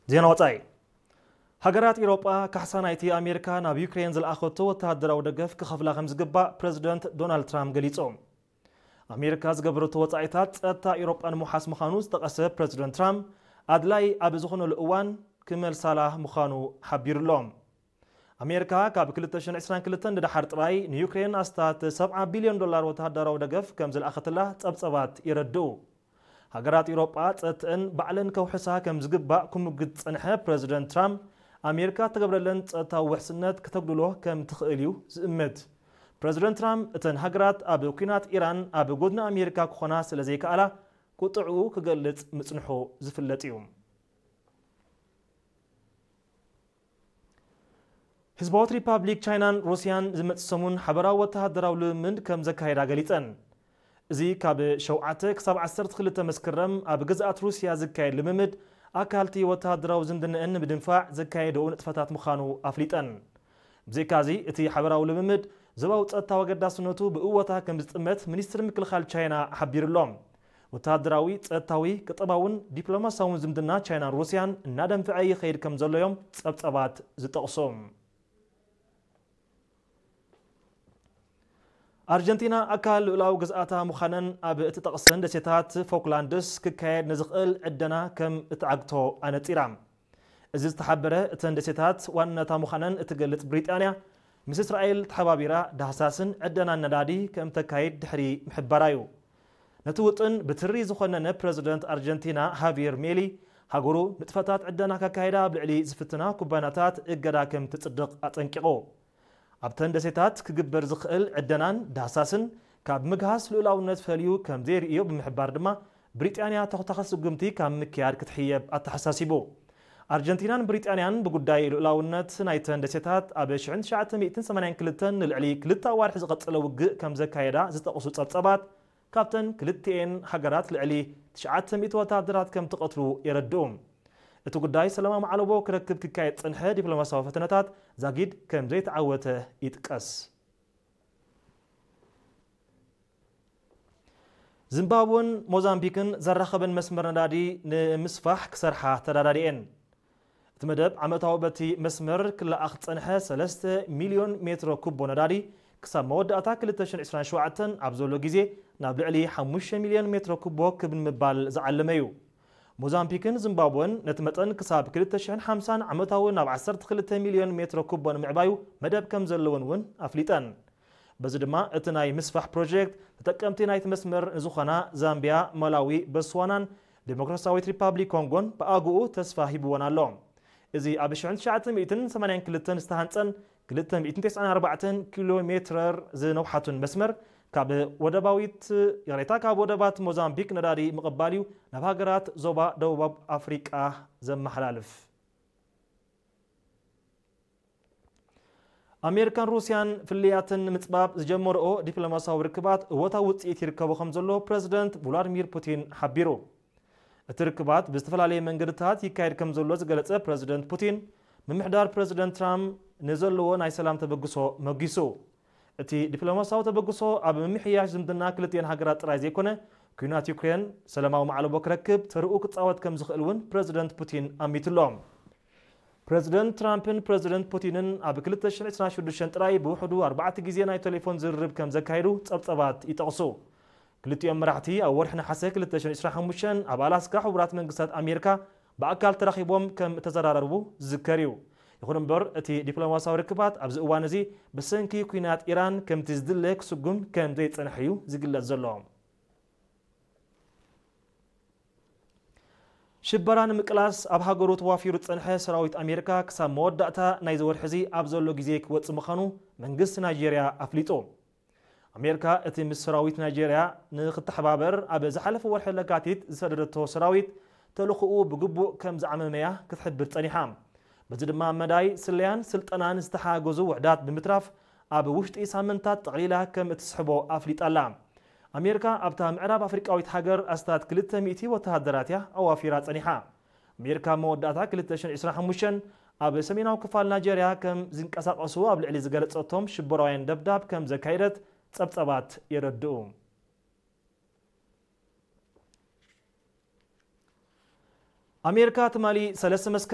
ዜና ወጻኢ። ሃገራት ኤውሮጳ ካሕሳ ናይቲ ኣሜሪካ ናብ ዩክሬን ዝለኣኸቶ ወተሃደራዊ ደገፍ ክኸፍላ ከም ዝግባእ ፕረዚደንት ዶናልድ ትራምፕ ገሊጾም። ኣሜሪካ ዝገበረቶ ወጻኢታት ጸጥታ ኤውሮጳ ንምውሓስ ምዃኑ ዝጠቐሰ ፕረዚደንት ትራምፕ፣ ኣድላይ ኣብ ዝኾነሉ እዋን ክመልሳላ ምዃኑ ሓቢሩሎም። ኣሜሪካ ካብ ክልተ ሽሕን ዕስራን ክልተን ንደሓር ጥራይ ንዩክሬን ኣስታት ሰብዓ ቢልዮን ዶላር ወተሃደራዊ ደገፍ ከም ዝለኣኸትላ ጸብጸባት የረድኡ። ሃገራት ኤውሮጳ ጸጥተን ባዕለን ከውሕሳ ከም ዝግባእ ክምጉት ዝጸንሐ ፕረዚደንት ትራምፕ፣ ኣሜሪካ እተገብረለን ጸጥታዊ ውሕስነት ክተጉድሎ ከም ትኽእል እዩ ዝእምት። ፕረዚደንት ትራምፕ፣ እተን ሃገራት ኣብ ኲናት ኢራን ኣብ ጎድኒ ኣሜሪካ ክኾና ስለ ዘይከኣላ፣ ቁጥዕኡ ክገልጽ ምጽንሑ ዝፍለጥ እዩ። ህዝባዊት ሪፓብሊክ ቻይናን ሩስያን ዝመጽእ ሰሙን ሓበራዊ ወተሃደራዊ ልምምድ ከም ዘካየዳ ገሊጸን። እዚ ካብ ሸውዓተ ክሳብ ዓሰርተ ክልተ መስከረም ኣብ ግዝኣት ሩስያ ዝካየድ ልምምድ፣ ኣካልቲ ወተሃደራዊ ዝምድነአን ንምድንፋዕ ዘካየደኦ ንጥፈታት ምዃኑ ኣፍሊጠን። ብዘይካዚ፣ እቲ ሓበራዊ ልምምድ ዞባዊ ጸጥታዊ ኣገዳስነቱ ብእወታ ከም ዝጥመት ሚኒስትሪ ምክልኻል ቻይና ሓቢሩሎም። ወተሃደራዊ፣ ጸጥታዊ፣ ቁጠባውን ዲፕሎማሲያውን ዝምድና ቻይናን ሩስያን እናደንፍዐ ይኸይድ ከም ዘሎ እዮም ጸብጸባት ዝጠቕሱ። ኣርጀንቲና ኣካል ልኡላዊ ግዝኣታ ምዃነን ኣብ እትጠቕሰን ደሴታት ፎክላንድስ ክካየድ ንዝኽእል ዕደና ከም እትዓግቶ ኣነጺራ። እዚ ዝተሓበረ፣ እተን ደሴታት ዋንነታ ምዃነን እትገልጽ ብሪጣንያ፣ ምስ እስራኤል ተሓባቢራ ዳህሳስን ዕደናን ነዳዲ ከም ተካይድ ድሕሪ ምሕባራ እዩ። ነቲ ውጥን ብትሪ ዝኾነነ ፕረዚደንት ኣርጀንቲና ሃቪየር ሜሊ፣ ሃገሩ ንጥፈታት ዕደና ከካይዳ ኣብ ልዕሊ ዝፍትና ኩባንያታት እገዳ ከም ትጽድቕ ኣጠንቂቑ። ኣብተን ደሴታት ክግበር ዝኽእል ዕደናን ዳህሳስን ካብ ምግሃስ ልኡላውነት ፈልዩ ከም ዘይርእዮ ብምሕባር ድማ፣ ብሪጣንያ ተኹታኸ ስጉምቲ ካብ ምክያድ ክትሕየብ ኣተሓሳሲቡ። ኣርጀንቲናን ብሪጣንያን ብጉዳይ ልኡላውነት ናይተን ደሴታት ኣብ ሽሕን ትሽዓተ ሚእትን ሰማንያን ክልተን ንልዕሊ ክልተ ኣዋርሕ ዝቐጸለ ውግእ ከም ዘካየዳ ዝጠቕሱ ጸብጸባት፣ ካብተን ክልቲኤን ሃገራት ልዕሊ ትሽዓተ ሚእቲ ወተሃደራት ከም ትቐትሉ የረድኡ። እቲ ጉዳይ ሰላማዊ ማዕለቦ ክረክብ ክካየድ ጸንሐ ዲፕሎማሲያዊ ፈተነታት ዛጊድ ከም ዘይተዓወተ ይጥቀስ። ዚምባብወን ሞዛምቢክን ዘራኸበን መስመር ነዳዲ ንምስፋሕ ክሰርሓ ተዳዳዲኤን። እቲ መደብ ዓመታዊ በቲ መስመር ክለኣኽ ዝጸንሐ ሰለስተ ሚልዮን ሜትሮ ኩቦ ነዳዲ ክሳብ መወዳእታ ክልተ ሽሕን ዕስራን ሸውዓተን ኣብ ዘሎ ግዜ ናብ ልዕሊ ሓሙሽተ ሚልዮን ሜትሮ ኩቦ ክብ ንምባል ዝዓለመ እዩ። ሞዛምቢክን ዚምባብወን ነቲ መጠን ክሳብ ክልተ ሽሕን ሓምሳን ዓመታዊ ናብ ዓሰርተ ክልተ ሚልዮን ሜትሮ ኩቦ ንምዕባዩ መደብ ከም ዘለወን እውን ኣፍሊጠን። በዚ ድማ እቲ ናይ ምስፋሕ ፕሮጀክት ተጠቀምቲ ናይቲ መስመር ንዝኾና ዛምቢያ፣ ማላዊ፣ ቦትስዋናን ዴሞክራሲያዊት ሪፓብሊክ ኮንጎን ብኣግኡ ተስፋ ሂብወን ኣሎ። እዚ ኣብ ሽሕን ትሽዓተ ሚእትን ሰማንያን ክልተን ዝተሃንጸን ክልተ ሚእትን ተስዓን ኣርባዕተን ኪሎ ሜትረር ዝነውሓቱን መስመር ካብ ወደባዊት፣ ይቕሬታ፣ ካብ ወደባት ሞዛምቢክ ነዳዲ ምቕባል እዩ ናብ ሃገራት ዞባ ደቡብ ኣፍሪቃ ዘመሓላልፍ። ኣሜሪካን ሩስያን ፍልልያተን ንምጽባብ ዝጀመርኦ ዲፕሎማሲያዊ ርክባት እወታዊ ውጽኢት ይርከቦ ከም ዘሎ ፕረዚደንት ቭላድሚር ፑቲን ሓቢሩ። እቲ ርክባት ብዝተፈላለየ መንገድታት ይካየድ ከም ዘሎ ዝገለጸ ፕረዚደንት ፑቲን፣ ምምሕዳር ፕረዚደንት ትራምፕ ንዘለዎ ናይ ሰላም ተበግሶ መጒሱ። እቲ ዲፕሎማሲያዊ ተበግሶ ኣብ ምምሕያሽ ዝምድና ክልቲኤን ሃገራት ጥራይ ዘይኮነ፣ ኲናት ዩክሬን ሰላማዊ ማዕለቦ ክረክብ ተርኡ ክጻወት ከም ዝኽእል እውን ፕረዚደንት ፑቲን ኣሚቱ ኣሎ። ፕረዚደንት ትራምፕን ፕረዚደንት ፑቲንን ኣብ ክልተ ሽሕን ዕስራን ሽዱሽተን ጥራይ ብውሕዱ ኣርባዕተ ግዜ ናይ ቴሌፎን ዝርርብ ከም ዘካየዱ ጸብጸባት ይጠቕሱ። ክልቲኦም መራሕቲ ኣብ ወርሒ ነሓሰ ክልተ ሽሕን ዕስራን ሓሙሽተን ኣብ ኣላስካ ሕቡራት መንግስታት ኣሜሪካ ብኣካል ተራኺቦም ከም እተዘራረቡ ዝዝከር እዩ። ይኹን እምበር፣ እቲ ዲፕሎማሲያዊ ርክባት ኣብዚ እዋን እዚ ብሰንኪ ኲናት ኢራን ከምቲ ዝድለ ክስጉም ከም ዘይጸንሐ እዩ ዝግለጽ ዘሎ። ሽበራ ንምቅላስ ኣብ ሃገሩ ተዋፊሩ ዝጸንሐ ሰራዊት ኣሜሪካ ክሳብ መወዳእታ ናይዚ ወርሒ እዚ ኣብ ዘሎ ግዜ ክወጽእ ምዃኑ መንግስቲ ናይጄርያ ኣፍሊጡ። ኣሜሪካ እቲ ምስ ሰራዊት ናይጄርያ ንክተሓባበር ኣብ ዝሓለፈ ወርሒ ለካቲት ዝሰደደቶ ሰራዊት ተልእኾኡ ብግቡእ ከም ዝዓመመያ ክትሕብር ጸኒሓ። በዚ ድማ መዳይ ስለያን ስልጠናን ዝተሓገዙ ውሕዳት ብምትራፍ ኣብ ውሽጢ ሳምንታት ጠቕሊላ ከም እትስሕቦ ኣፍሊጣ ኣላ። ኣሜሪካ ኣብታ ምዕራብ ኣፍሪቃዊት ሃገር ኣስታት ክልተ ሚእቲ ወተሃደራት እያ ኣዋፊራ ጸኒሓ። ኣሜሪካ ኣብ መወዳእታ ክልተ ሽሕን ዕስራን ሓሙሽተን ኣብ ሰሜናዊ ክፋል ናይጀርያ ከም ዝንቀሳቐሱ ኣብ ልዕሊ ዝገለጸቶም ሽበራውያን ደብዳብ ከም ዘካየደት ጸብጸባት የረድኡ። ኣሜሪካ ትማሊ ሰለስተ መስከረም